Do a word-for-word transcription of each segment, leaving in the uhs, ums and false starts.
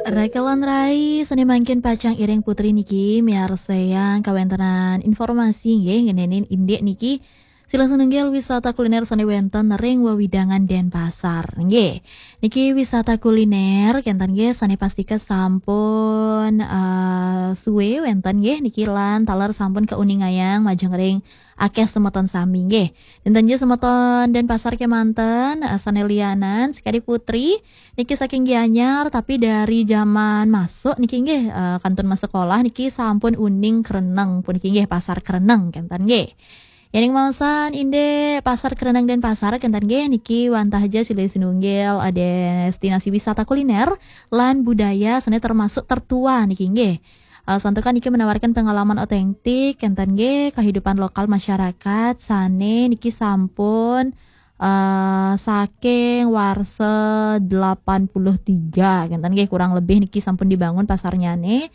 Rakelan rai, sane mangkin pacang iring putri niki miarsayang kawentenan informasi nggih ngenenin indik niki. Silih sinunggil wisata kuliner sane wenten ring wewidangan Denpasar nggih. Niki wisata kuliner kenten nggih sane pastika sampun eh, suwe wenten nggih niki lan taler sampun keuningayang majeng ring akeh semeton sami nggih. Dinten nggih semeton Denpasar kemanten eh, sane lianan sekadi putri niki saking Gianyar tapi dari zaman masuk niki nggih eh, kantun masuk sekolah niki sampun uning Kreneng puniki nggih pasar Kreneng kenten nggih. Yening maosan indik Pasar Kereneng Denpasar kenten nggih niki wantah aja silih sinunggil eh, destinasi wisata kuliner lan budaya sane termasuk tertua niki nggih. Eh, santukan niki menawarkan pengalaman otentik kenten nggih kehidupan lokal masyarakat sane niki sampun eh, saking warsa delapan puluh tiga kenten nggih kurang lebih niki sampun dibangun pasarnyane.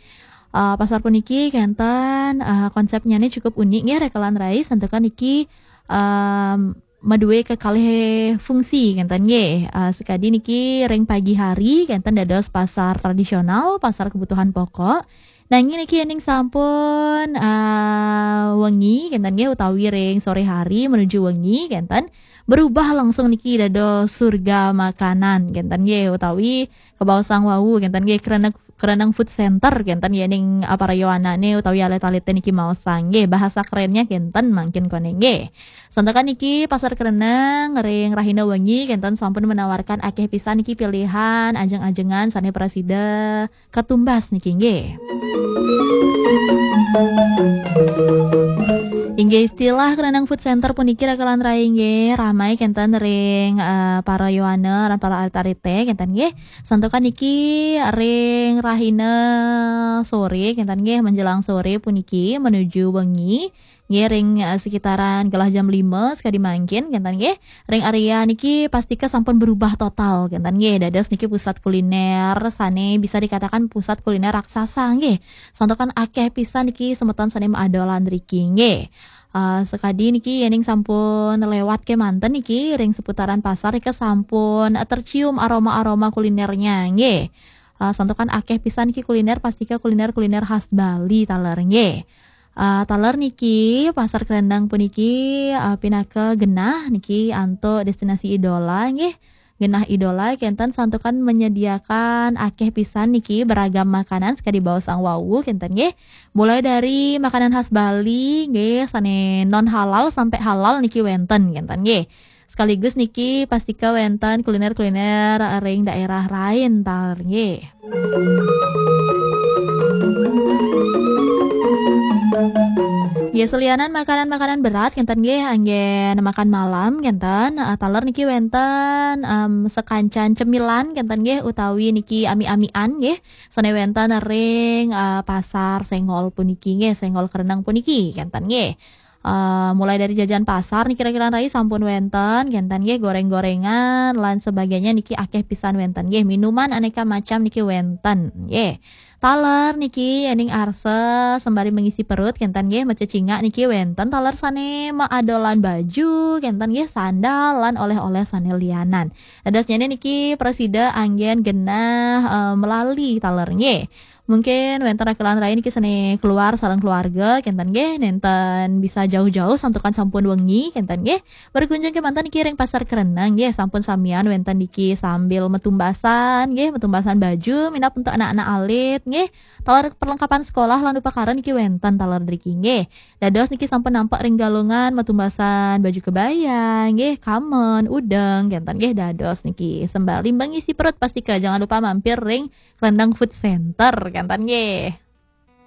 Eh, pasar puniki kenten eh, konsepnyane cukup unik nggih rekelan rai santukan niki em, madue kekalih fungsi kenten nggih. Eh, sekadi niki ring pagi hari kenten dados pasar tradisional, pasar kebutuhan pokok. Nanging niki yening sampun eh, wengi kenten nggih utawi ring sore hari menuju wengi kenten berubah langsung niki dados surga makanan kenten nggih utawi kebaosang wau kenten nggih Kreneng Kreneng Food Center kenten yening eh, para yowanane utawi alit-alite niki maosang nggih bahasa kerennya kenten mangkin kone nggih. Santukan niki Pasar Kreneng ring rahina wengi kenten sampun menawarkan akeh pisan niki pilihan ajeng-ajengan sane prasida katumbas niki nggih. Inggih istilah Kreneng Food Center puniki rekelan rai nggih ramai kenten ring eh, para yowana lan para alit-alite kenten nggih. Santukan niki ring rahina sore kenten nggih menjelang sore puniki menuju wengi nggih ring eh, sekitaran gelah jam lima sekadi mangkin kenten nggih. Ring area niki pastika sampun berubah total kenten nggih. Dados niki pusat kuliner sane bisa dikatakan pusat kuliner raksasa nggih. Santukan akeh pisan niki semeton sane maadolan riki nggih. Eh, sekadi niki yening sampun lewat kemanten niki ring seputaran pasar niki sampun eh, tercium aroma-aroma kulinernya nggih. Eh, santukan akeh pisan niki kuliner pastika kuliner-kuliner khas Bali taler nggih. Eh, taler niki Pasar Kerendang puniki eh, pinaka genah niki antuk destinasi idola nggih. Genah idola kenten santukan menyediakan akeh pisan niki beragam makanan sekadi baosang wau kenten nggih. Mulai dari makanan khas Bali nggih sane non halal sampai halal niki wenten kenten nggih. Sekaligus niki pastika wenten kuliner-kuliner ring daerah lain taler nggih. Ya selianan makanan-makanan berat kenten nggih anggen makan malam kenten eh, taler niki wenten em, sekancan cemilan kenten nggih utawi niki ami-amian nggih sane wenten ring eh, pasar Senggol puniki nggih Senggol Kereneng puniki kenten nggih. Eh, mulai dari jajan pasar niki kira-kira rai sampun wenten kenten nggih goreng-gorengan lan sebagainya niki akeh pisan wenten nggih minuman aneka macam niki wenten nggih. Taler niki yening arsa sembari mengisi perut kenten nggih macecingak niki wenten taler sane maadolan baju kenten nggih sandal lan oleh-oleh sane lianan. Dadosnyane niki prasida anggen genah eh, melali taler nggih. Mungkin wenten rakelan rai niki sane keluar sareng keluarga kenten nggih nenten bisa jauh-jauh santukan sampun wengi kenten nggih. Berkunjung kemanten niki ring Pasar Kereneng nggih sampun samian wenten niki sambil metumbasan nggih metumbasan baju minab untuk anak-anak alit nggih. Taler perlengkapan sekolah lan upakara niki wenten taler driki nggih. Dados niki sampun nampak ring galungan metumbasan baju kebaya nggih, kamen, udeng kenten nggih dados niki. Sembari mengisi perut pastika jangan lupa mampir ring Kelentang Food Center kenten nggih.